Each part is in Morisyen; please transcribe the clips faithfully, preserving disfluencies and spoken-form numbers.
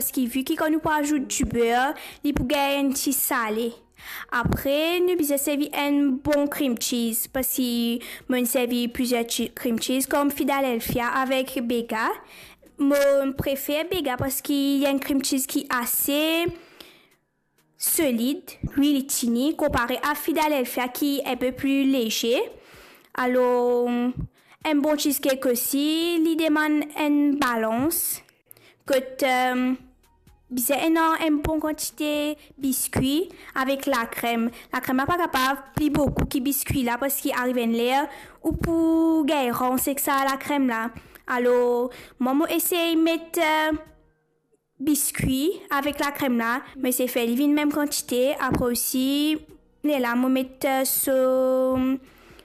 Parski vi ki kan nou pou azout diber, li pou gagn enn ti sale. Apre, nou bizin servi enn bon cream cheese, parski mo'nn servi plizier chi-, cream cheese, kom Philadelphia avek Bega. Mo prefer Bega parski li enn cream cheese ki ase solid, wi, li tini, konpare a Philadelphia ki enpe pli leze. Alor, enn bon cheesecake osi, li demann enn balans. Kot, eh, bizin ena enn bon kantite biskwi avek lakrem. Lakrem la pa kapav pli boukou ki biskwi la, parski ariv enn ler ou pou gagn rans ek sa lakrem la. Alor, mwa, mo esey met, eh, biskwi avek lakrem la, mo esey fer li vinn mem kantite. Apre osi, lerla mo met, eh, so,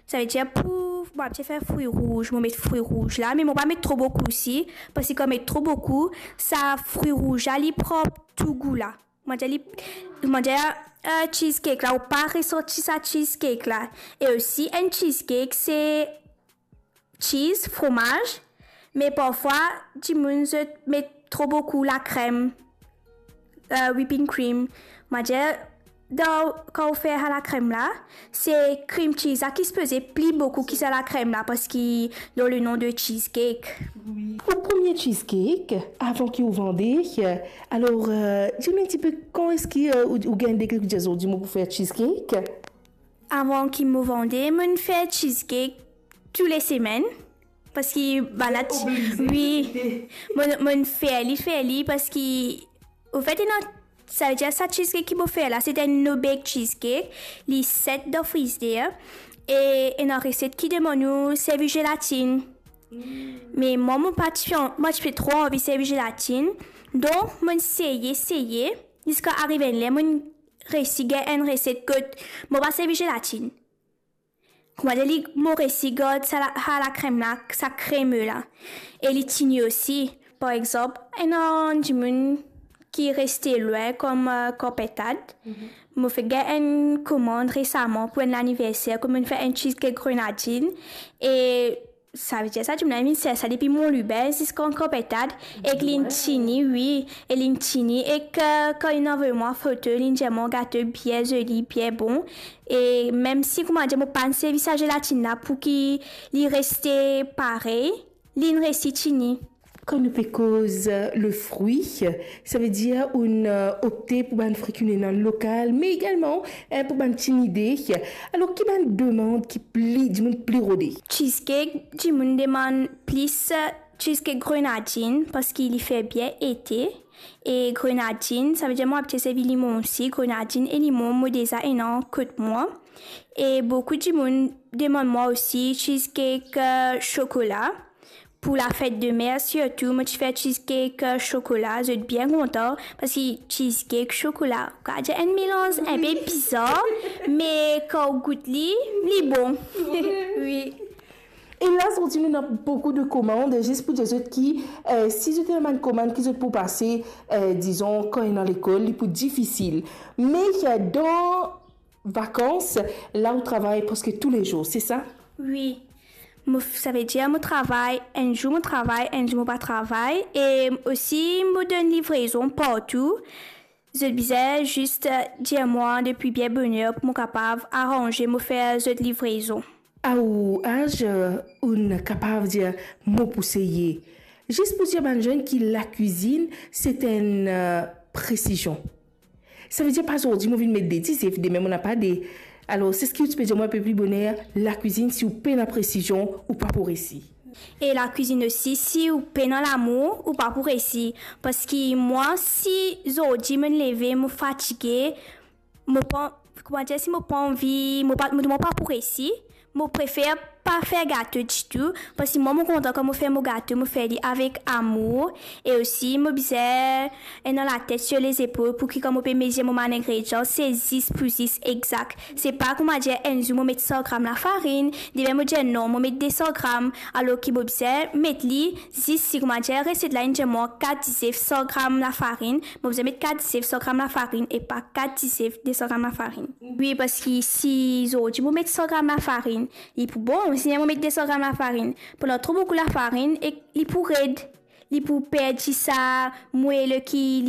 savedir pou, mo abitie fer fri rouz, mo met fri rouz la, me mo pa met tro boukou osi, parski kan met tro boukou, sa fri rouz la, li pran tou gou la. Mo dir li, mo dir, eh, cheesecake la, ou pa resanti sa cheesecake la. E osi, enn cheesecake, se cheese, fromaz, me parfwa, dimoun zot met tro boukou lakrem, eh, whipping cream. Mo dir, dan, kan ou fer sa lakrem la, se cream cheese la ki sipoze pli boukou ki sa lakrem la, parski dan le nom de cheesecake. Ou premie cheesecake, avan ki ou vande, alor, eh, dir nou enn tipe kan eski, eh, ou, ou gagn degre ki dir, "Zordi mo pou fer cheesecake"? Avan ki mo vande, mo'nn fer cheesecake tou le semenn, parski bann la ti-, wi, mo'nn, mo'nn fer li, fer li, parski, anfet, ena, savedir sa cheesecake ki mo fer la, se enn no-bake cheesecake, li set dan frizer, e ena reset ki demann ou servi zelatinn. Me mwa, mo pa ti, mo ti pe tro anvi servi zelatinn, donk mo'nn seye, seye, ziska ariv enn ler mo'nn resi gagn enn reset kot mo pa servi zelatinn. Kouma dir li, mo resi gard sa la, sa lakrem la, sa kreme la. E li tini osi. Par exanp, ena dimoun ki reste lwin kom, eh, Kar Pintad. Mo fek gagn enn komand resaman pou enn laniverser, kot mo'nn fer enn cheesecake grenadinn. E savedir sa dimoun la inn vinn sers sa depi Mont Lubin ziska Kar Pintad, ek linn tini, wi, e linn tini, ek, eh, kan linn avoy mwa foto, linn dir mwa gato bien zoli, bien bon. E mem si, kouma dir, mo pa'nn servi sa zelatinn la pou ki li reste parey, linn resi tini. Kan nou pe koz, eh, le fri, savedir ou'nn, eh, opte pou bann fri ki nou ena lokal, me egalman, eh, pou bann ti nide. Alor, ki bann demann ki pli, dimoun pli rode? Cheesecake, dimoun demann plis, eh, cheesecake grenadinn, parski li fer bien ete. E grenadinn, savedir mo abitie servi limon osi, grenadinn e limon, mo deza ena kot mwa. E boukou dimoun demann mwa osi cheesecake, eh, sokola. Pou lafet de mer sirtou, mo ti fer cheesecake, eh, sokola, zot bien kontan, parski cheesecake, sokola, ou kapav dir enn melanz inpe bizar, me kan ou gout li, li bon. Wi. E la, zordi nou ena boukou de komand, zis pou dir zot ki, eh, si zot ena bann komand ki zot pou pase, eh, dizon, kan ena lekol, li pou difisil. Me, eh, dan vakans, la ou travay preske toulezour, se sa? Wi. Mo, savedir mo travay, enn zour mo travay, enn zour mo pa travay. E osi, mo donn livrezon partou. Zot bizin zis, eh, dir mwa depi bien boner pou mo kapav aranze mo fer zot livrezon. A ou az, eh, ou'nn kapav dir mo pou seye. Zis pou dir bann zenn ki lakwizinn, se enn, eh, presizion. Savedir pa zordi mo vinn met de dizef, demin mo napa de. Alor, se ki ou ti pe dir mwa inpe pli boner, lakwizinn, si ou pena presizion, ou pa pou resi. E lakwizinn osi, si ou pena lamour, ou pa pou resi. Parski mwa, si zordi mo'nn leve, mo fatige, mo pa, kouma dir, si mo pa anvi, mo pa, mo, mo pa pou resi, mo prefer pa fer gato ditou, parski mwa, mo kontan kan mo fer mo gato, mo fer li avek amour. E osi, mo bizin ena latet sir lezepol pou ki kan mo pe mezir mo bann ingredian, se zis pou zis, egzak. Se pa kouma dir enn zour mo met san gram lafarinn, demin mo dir non, mo met de san gram, alor ki mo bizin met li zis si, kouma dir, reset la inn dir mwa kat dizef san gram lafarinn, mo bizin met kat dizef san gram lafarinn e pa kat dizef de san gram lafarinn. Wi, parski si zordi mo met san gram lafarinn, li pou bon, si mo met de san gram lafarinn, pou ena tro boukou lafarinn e li pou red. Li pou perd ti sa mwel ki li